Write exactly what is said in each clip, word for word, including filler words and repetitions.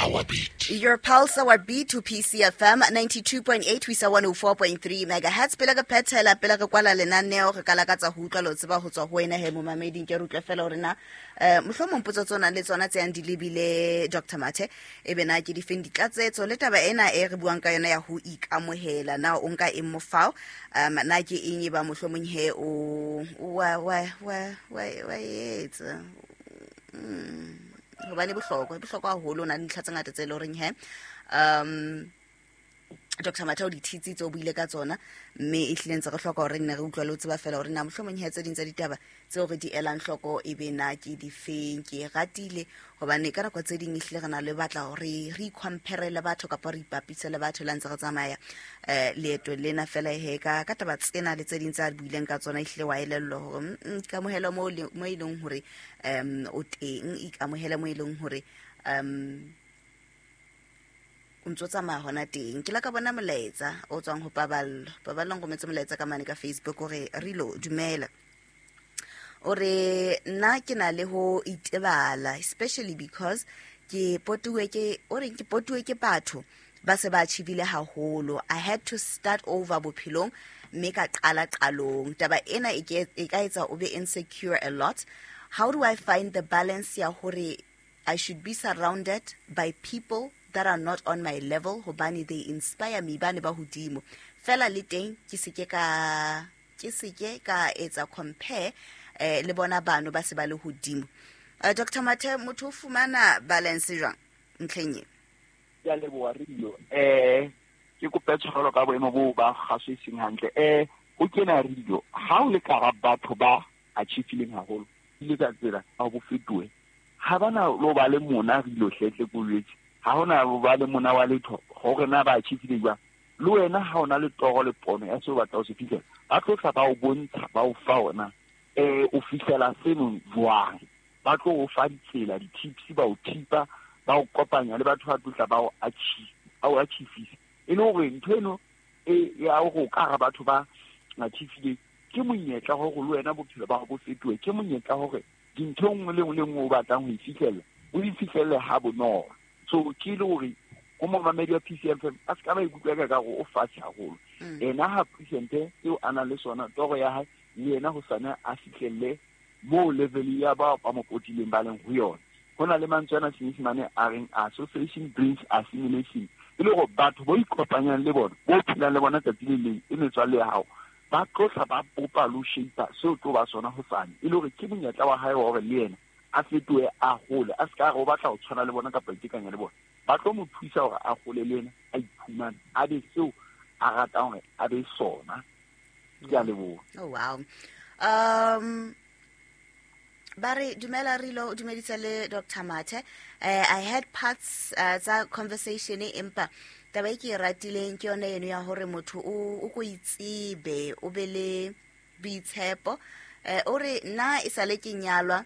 our beat. Your pulse, our B to P C F M ninety-two point eight ho isa one oh four point three megahertz. Pele re phethela, pele re kwala lenaneo, re ka lakatsa ho utlwa le ho tseba ho tswa ho wena he momameding. Ke re utlwe fela hore na, eh, mohlomong potso tse o nang le tsona tse yang di lebile Doctor Mathe, e be na ke difeng ditlatsetso le taba ena e re buang ka yona ya ho ikamohela, na o nka eng mofao? Um, na ke eng e ba mohlomong he o, wa, wa, wa, wa, wa etsa? Mm. Hobane bohlokwa, bohlokwa haholo, o na le dintlha tse ngata tse leng horeng he, um, Doctor Mathe o di thitsitse, o buile ka tsona, mme e hlile ntse re hloka hore nne re utlwe le ho tseba fela hore na mohlomong he tse ding tsa ditaba tseo re di elang hloko e be na ke difeng. Ke e ratile hobane ka nako tse ding ehlile re na le batla hore re icompare le batho kapa re ipapise le batho le ha ntse re tsamaya, eh, leeto lena fela he ka, ka taba tsena le tse ding tse a buileng ka tsona, ehlile wa elellwa hore, mm, mm, ikamohele mo le, mo e leng hore, um, o teng, ikamohele mo e leng hore, um, o ntso tsamaya hona teng. Ke la ka bona molaetsa o tswang ho Paballo. Paballo o nrometse molaetsa ka mane ka Facebook hore Rilo dumela. O re nna ke na le ho itebala, especially because ke potuwe ke, o re ke potuwe ke batho ba se ba achievile haholo. I had to start over bophelong mme ka qala qalong. Taba ena e ke, e ka etsa o be insecure a lot. How do I find the balance ya hore I should be surrounded by people that are not on my level hobane they inspire me, bane ba hodimo fela le teng ke se ke ka, ke se ke ka etsa compare, eh, le bona bano ba se ba le hodimo. Eh, Doctor Mathe, motho o fumana balance jwang ntlheng e? Ke a leboha, Rilo. Eh, ke kope tshwarelo ka boemo boo ba kgaso e seng hantle. Eh, ho kena Rilo, ha o le ka hara batho ba achieve-ileng haholo, ile ka tsela ha bo fetohe. Ha bana lo ba le mona Rilo hlehle ko jwetse. Ha hona bo ba le mona wa letho hore na ba achieve-ile jwang. Le wena ha ona le toro le pono ya seo o batlang ho se fihlela, ba tlo tla ba o bontsha, ba o fa ona, eh, o fihlela seno jwang. Ba tlo o fa ditsela, di-tips, ba o thipa, ba o kopanya le batho ba tlo tla ba o achieve, ba o achieve-isa. E le hore ntho eno e ya hore o ka hara batho ba achieve-ileng, ke monyetla hore le wena bophelo ba hao bo fetohe, ke monyetla hore dintho e nngwe le nngwe le nngwe o batlang ho e fihlella, o e fihlelle ha bonolo. So ke le hore ho momamedi wa P C F M a se ka ba ikutlwa ka ka hore o fatshe haholo. Mm. Ena ha presente eo a nang le sona, toro ya hae, le yena ho sane a fihlelle moo level ya bao ba mo potileng ba leng ho yona. Ho na le mantswe ana Senyesemane a reng association brings assimilation. E le hore batho bo ikopanyang le bona, bo phelang le bona tsatsi le leng, e metswalle ya hao, ba tlo tla ba bopa le ho shape seo tlo ba sona hosane. E le hore ke monyetla wa hae wa hore le yena a fetohe a hole, a se ka re o batla ho tshwana le bona kapa itekanya le bona. Ba tlo mo thusa hore a hole le yena, a iphumane, a be seo a ratang hore a be sona. Ke a leboha. Oh, wow. Um, ba re dumela Rilo, o dumedisa le Doctor Mathe. Eh, I had parts, eh, tsa conversation e, empa taba e ke e ratileng ke yona eno ya hore motho o, o ko itsebe, o be le boitshepo. Eh, o re nna e sale ke nyalwa,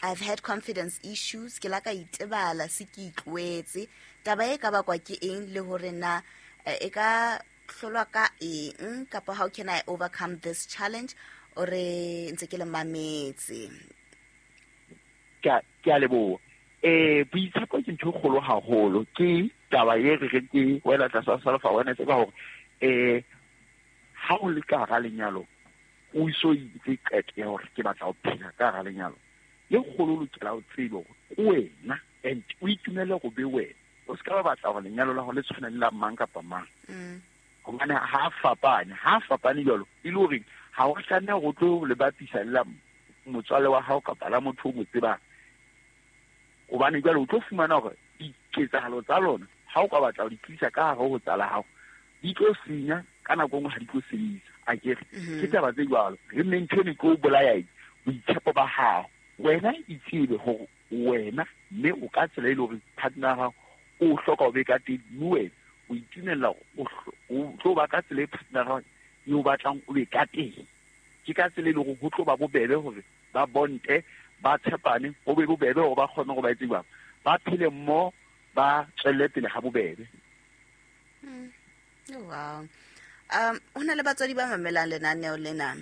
I've had confidence issues, ke la ka itebala se ke itlwetse. Taba e ka bakwa ke eng le hore na, eh, e ka hlolwa ka eng, kapa how can I overcome this challenge? O re ntse ke le mametse. Ke a, ke a leboha. Eh, boitshepo ke ntho e kgolo haholo. Ke taba e re reng ke wela tlasa self awareness ka hore, eh, ha o le ka hara lenyalo, o iso itse qeto ya hore ke batla ho phela ka hara lenyalo. Le kgolo o lokela ho tsebe hore ke wena, and o itumelle hore be wena. O se ka ba batla hore lenyalo la hao le tshwane le la mang kapa mang. Mm. Hobane ha fapane, ha fapane jwalo, e le hore ha o tlameha hore o tlo le bapisa le la motswalle wa hao kapa la motho o mo tsebang. Hobane jwale o tlo fumana hore diketsahalo tsa lona, ha o ka batla ho di tlisa ka hare ho tsa la hao, di tlo senya, ka nako e nngwe ha di tlo sebetsa. Akere? Mm-hmm. Ke taba tse jwalo. Re nne ntho eno e tlo o bolaya eng? Boitshepo ba hao. Wena itsebe hore wena mme o ka tsela e leng hore partner ya hao o hloka ho be ka teng, mme wena o itumella hore o hlo-, o tlo ba ka tsela e partner ya hao e o batlang o be ka teng. Ke ka tsela e leng hore ho tlo ba bobebe hore ba bonte, ba tshepane, ho be bobebe hore ba kgone hore ba etse jwang, ba phele mmoho, ba tswelle pele ha bobebe. Mm. Oh, wow. Um, ho na le batswadi ba mamelang lenaneo lena.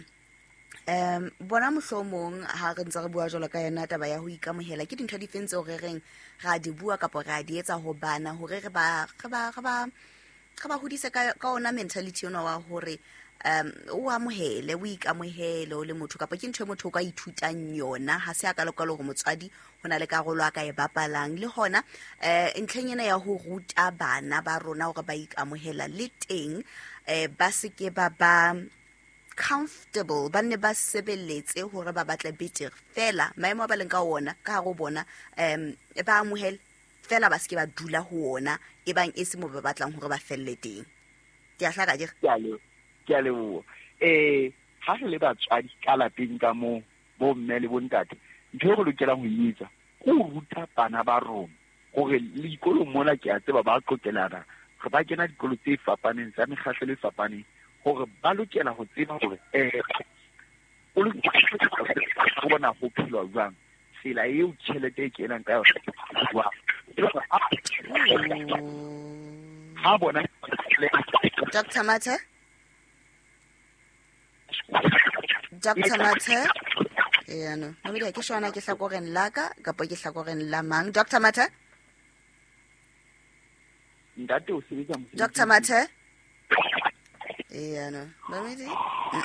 Um bona mohlomong ha re ntse re bua jwalo ka yona taba ya ho ikamohela, ke dintho di feng tseo re reng ra di bua kapa ra di etsa ho bana hore re ba re ba re ba re ba hodise ka ka ona mentality ona wa hore um o amohele, o ikamohele o le motho, kapa ke ntho e motho o ka ithutang yona, ha se a ka lokela hore motswadi ho na le karolo a ka e bapalang. Le hona eh ntlheng ena ya ho ruta bana ba rona hore ba ikamohela le teng, eh ba se ke ba ba comfortable, ba nne ba sebeletse hore ba batle betere fela maemo a ba leng ka ona ka hare ho bona, um ba amohele fela, ba se ke ba dula ho ona e bang e se mo ba batlang hore ba felle teng. Ke a hlaka ke Ke a le ke a leboha. Eh ha re le batswadi ka lapeng ka moo, bo mme le bontate, ntho e re lokelang ho e etsa ke ho ruta bana ba rona hore le dikolong mona, ke a tseba ba qokelana, re ba kena dikolo tse fapaneng tsa mekgahlelo e fapaneng, hore ba lokela ho tseba hore eh o lokela ho bona ho phelwa jwang, tsela eo tjhelete e kenang ka yona jwang. E le hore ha bona Doctor Mathe, Doctor Mathe, eh no, mamedi ke shona ke hlakoreng la ka kapa ke hlakoreng la mang? Doctor Mathe, ntate o sebetsa mosebetsi. Doctor Mathe, eh no, mamedi